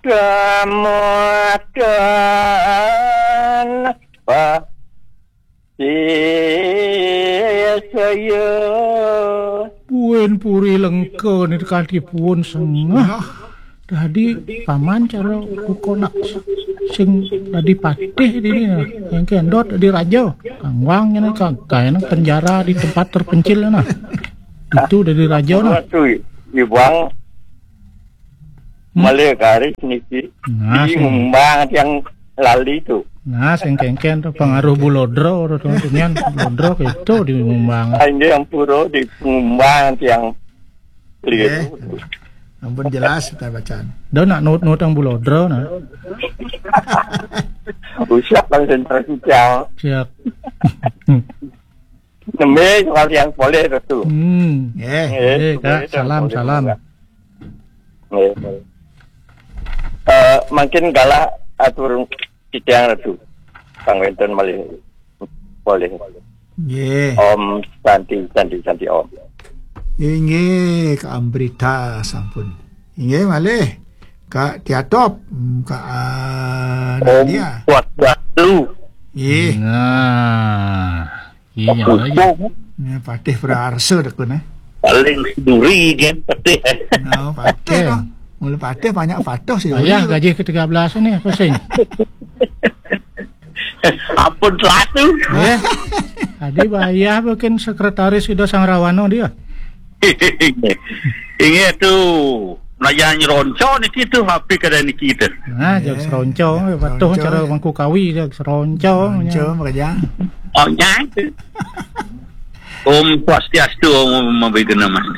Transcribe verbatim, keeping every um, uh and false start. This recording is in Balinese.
Kamuatan pasih saya. Puin Puri Lengka ni kanti puun sengah. Dadi paman cara kukonak sing dadi patih dini nah. Yang kendot dadi raja. Kangwang ni kagak enak penjara di tempat terpencil nah. Itu dadi raja nah. Waktu iwang Hmm. Malih garis niki. Nah, di sing Ngumbang tiang lali tu. Nah, sing kengken tu pengaruh Bulodro tu, tu nian Bulodro itu di Ngumbang. Ah, inggih ampura di Ngumbang tiang keliru. Eh, ampun jelas kita bacaan. Dah nak nut-nut yang Bulodro nah. Usah konsentrasi tiang. Siap. Nembe soal tiang polih tu. Hmm. Eh, eh, Kak, salam, salam. Nggih. Eh, mangkin galah atur titiang Ratu. Pang wénten malih polih. Nggih. Om Santi, Santi, Santi Om. Inggih, Kak Amrita sampun. Inggih, malih. Kak Tiatop, hmm, Kak, ah, Om Nadia. Kuat Batu. Nggih. Nah. Iya, lagi. Ini patih praarsa dekun eh. Paling duri kan patih eh. Oh, patih. Oke. Dong. Mula patih banyak patuh sih. Ayah gaji ke tiga belas ini apa sih? Ampun satu. Ya. Tadi bayar bikin sekretaris sudah Sang Rawano dia. Ini tu melayan ronco ni kita hampir kada ni kita. Nah, eh, jag seronco, patuh cara mangku kawi jag seronco. Seronco makanya. Oh, nyai. Om Swastiastu, Om Mabigana Mas.